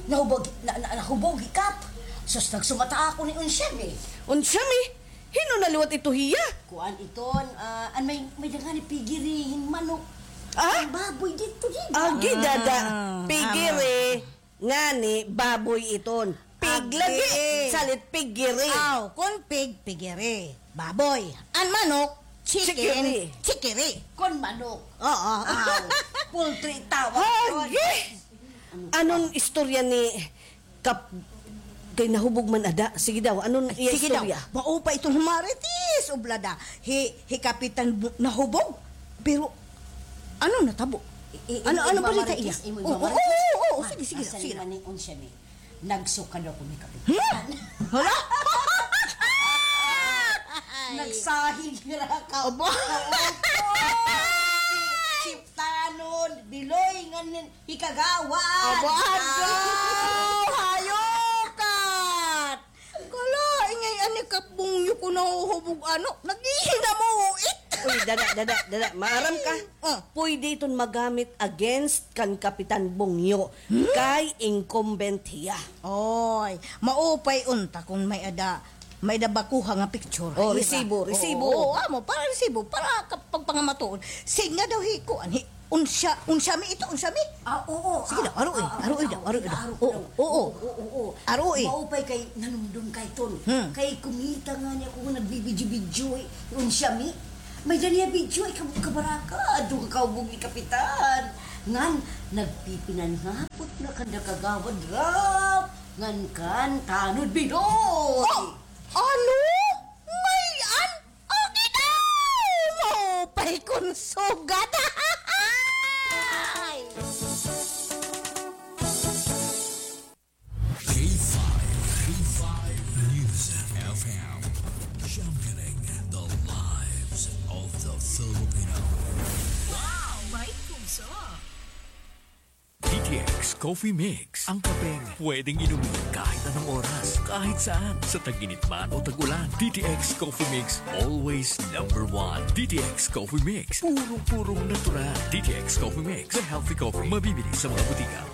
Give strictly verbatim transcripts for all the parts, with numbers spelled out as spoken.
Nahubog, na, na, nahubog hi Kap. Sus, nagsumata ako ni Unsyami. Unsyami? Hin-o na liwat ito hiya? Kuan iton, ah, an may, may daghan ni pigiri hin manok. Ah? An baboy didto, dida. Agi, dada. Ah, pigiri. Ngani, baboy iton. Pig lagi. Salit pigiri. Aw, kon pig, pigiri. Baboy. An manok, chicken, chikiri. Kon manok. Oo, aw. Poultry tawag. Agi! Anon istorya ni Kap-, kay nahubog man ada? Sige daw, anon iya istorya? Sige daw. Maupay iton Marites Oblada. Hi, hi Kapitan Bu-, nahubog. Pero, ano natabo? Ano, ano balita iya? Oo, oo, oo, sige, sige, sige. Nagsukad ako ni Kapitan. Hmm? Hala? Nagsahig ra ka. Aba. Opo. Siptanon, biloy, ngan, hi Kagawad. Aba, adaw! Hayokat! Kala, ingay ani ka bungyo ko nahuhubog, ano? Naghihinamot. Uy, dada, dada, dada. Maaram ka? Ah. Pwede iton magamit against kan Kapitan Bungyo. Hmm? Kay incumbent hiya. Oy, maupay unta kon may-ada, may-ada bakuha nga picture. Oh, resibo, resibo. Oo, amo, para resibo, para ka-, pagpangamatuod. Sige nga daw hi kuan, hi Unsya-, Unsyami ito, Unsyami? Ah, oo. Sige daw, aroy, aroy daw, aroy daw. Oo, oo. Aroy. Maupay kay nanumdom kay ton. Hmm. Kay kumita ngani ako nga nagbibidyo-bidyo, eh, Unsyami. May-ada niya bidyo, eh, kab-, kabaraka, adto ka kahubog ni Kapitan. Ngan, nagpipinanhapot na kanda Kagawad Ralph. Ngan kan Tanod Bidoy. Oh, ano? May-an? Okay daw! Maupay kon sugad. K five, K five News F M, championing the lives of the Filipino. Wow, may puso. D T X Coffee Mix, ang kapeng pwedeng inumin kahit anong oras, kahit saan, sa tag-init man o tag-ulan. D T X Coffee Mix, always number one. D T X Coffee Mix, purong-purong natural. D T X Coffee Mix, the healthy coffee, mabibili sa mga butika.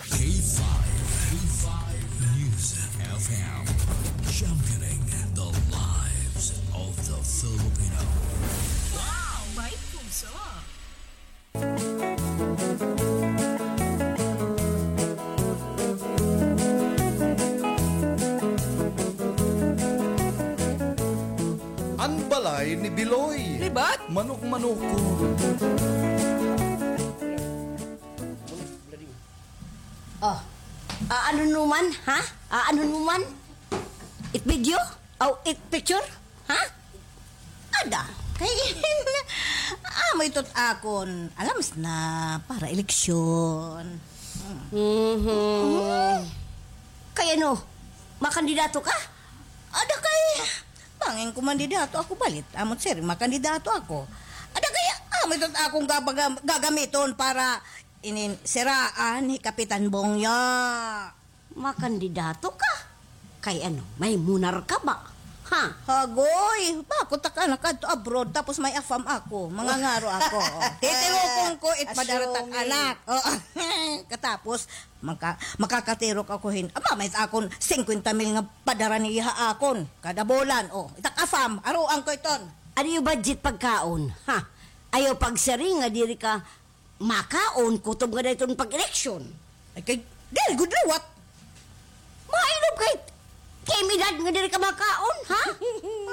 K five, K five News F M, championing the lives of the Filipino. Wow, may puso. An balay ni Biloy. Libat? Manok-manok ko. Oh. Ah, ano naman, ha? Ah, ano naman? It video? Oh, it picture? Ha? Ada. Kay, amo ito akon, alams na, para eleksyon. Mhm. Kay ano, makandidato ka? Ada kay, bangin ko mandidato ako balit. Amot siring, makandidato ako. Ada kay, amo ito akon gabaga-, gagamiton para inin siraan hi Kapitan Bongyo. Makandidato ka? Kay ano, may monarka ba? Ha? Hagoy, bako ta ka nakadto abroad, tapos may afam ako, mangangaro ako. Titirukon ko it padara tak anak. Oo. Katapos, maka-, makakatirok ako hin. Aba, may akon singkwenta mil nga padara niya ha akon. Kada bulan, oh, itak afam, aruan ko iton. Ano yung budget pagkaon? Ha? Ayaw pagsiring nga diri ka makaon, kutob ngada iton pag-eleksyon. Ay, kay, diri gud liwat. Mainom kay, kay may edad nga diri ka makaon, ha?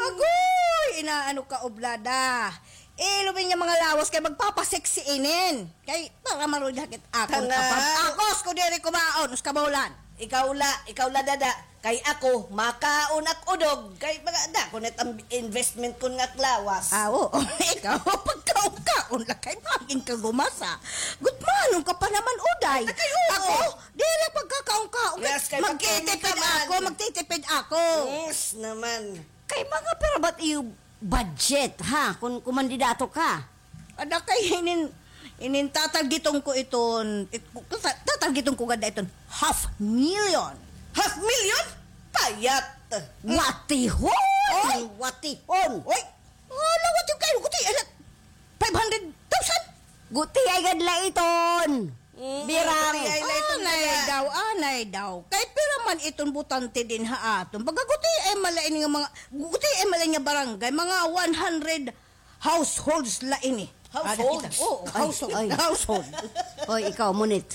Agoy, inaano ka, Oblada. Ilobi niya mga lawas kay magpapasexy inin. Kay, para marulid hakit akon. Tanga. Akos ko diri kumaon, usa ka bulan. Ikaw la, ikaw la, dada. Kay ako, makaon ak udog. Kay mga dako na it investment kon nga ak lawas. Ah, oo. Ikaw, pagkaon-kaon la kay bangin ka gumasa. Gutmanon ka pa naman, Uday. Ay, kay oo. Ako, diri pagkakaon-kaon. Yes, kay magtitipid ako, magtitipid ako. Yes naman. Kay mga para ba't iyo budget, ha? Kung kumandidato ka. Ada kay inin, inin tatargeton ko iton, it-, tata-, tatargeton ko gada iton half million. Half million? Payat. Watihon! Oy! Watihon! Oy! Ala, watihon kayo, guti, ala, five hundred thousand? Guti ay gadla iton. Mm, birang. Guti ay la iton. Anay, Aw, anay daw. Kay pira man iton botante dinhi ha aton. Baga gutiay man la ini nga mga, gutiay man la ini nga barangay, mga one hundred households la ini. Households? Ada kita. Oo, household. Ay. Household. Hoy, ikaw, Munit.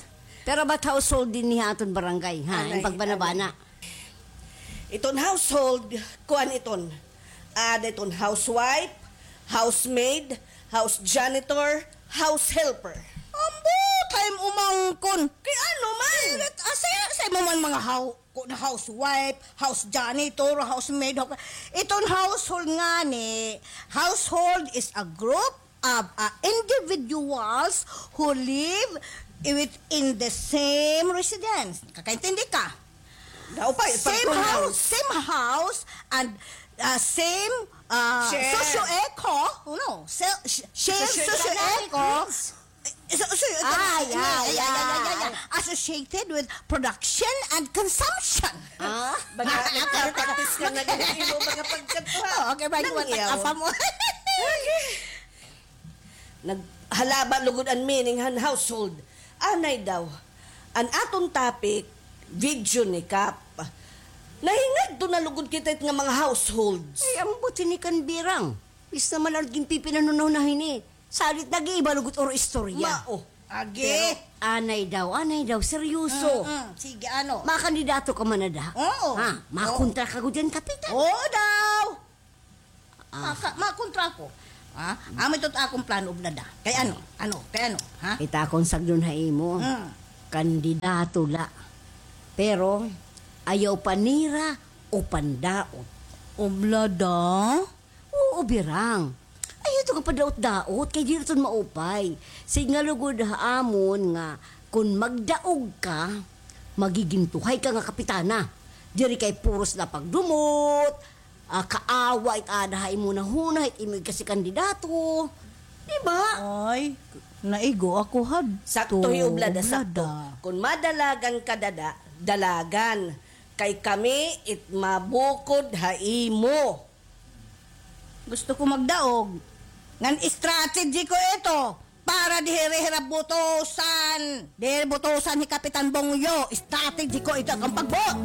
Pira ba it household dinhi ha aton barangay, ha? Anay, in pagbanabana. Iton household, kuan iton. Ada iton housewife, housemaid, house janitor, house helper. Ambot, hay umangkon. Kay ano man? Asa, asa mo man mga hou-, Kun housewife, house janitor, housemaid, ho-, iton household ngani, household is a group of, uh, individuals who live within the same residence. Kakaintindi ka? Daw pa, same house, same house, and, uh, same, uh, socio-eco, no, se-, sh-, shared socio-eco, Socio-economic needs. So, so, ito, Ah, yeah, yeah, yeah, yeah, yeah, yeah, yeah, yeah. Associated with production and consumption. Ah? Baga, nagpa-practice ka na ganun, imo mga pagkatuha. Oo, okay, bago Nang iyaw. Apa mo? Naghalaba lugod an meaning han household. Anay daw. An aton topic, video ni Kap. Nahingadto na lugod kita it nga mga households. Ay, ambot hini kan Birang. Bis naman an ginpipinanunahon na hini. Salit nag-iiba lugod or istorya. Mao. Agi. Pero anay daw, anay daw, seryoso. Mm, mm. Sige, ano? Makandidato ka man ada. Oo. Ha? Oo. Makontra ka gud diyan, Kapitan? Oo daw. Ah. Maka-, makontra ko. Ha? Amo ito akon plano, Oblada. Kay ano? Ano? Kay ano? Ha? Ita akon sagdon ha imo. Mm. Kandidato la. Pero, ayaw panira o pandaot. Oblada? Oo, Birang. Ayaw ito nga padaot-daot, kay diri ito maupay. Sige nga lugod ha amon nga, kun magdaog ka, magigintuhay ka nga kapitana. Diri kay puros la pagdumot, ah, kaawa it ada ha imo nahuna, it imo kasi kandidato. Di ba? Ay, naigo ako hadto. Sakto hi Oblada, sakto. Kun madalagan ka dada, dalagan. Kay kami it mabukod ha imo. Gusto ko magdaog. Ngan strategy ko ito para diri hira butusan. Diri butusan hi Kapitan Bongyo. Strategy ko ito akon pagbuot.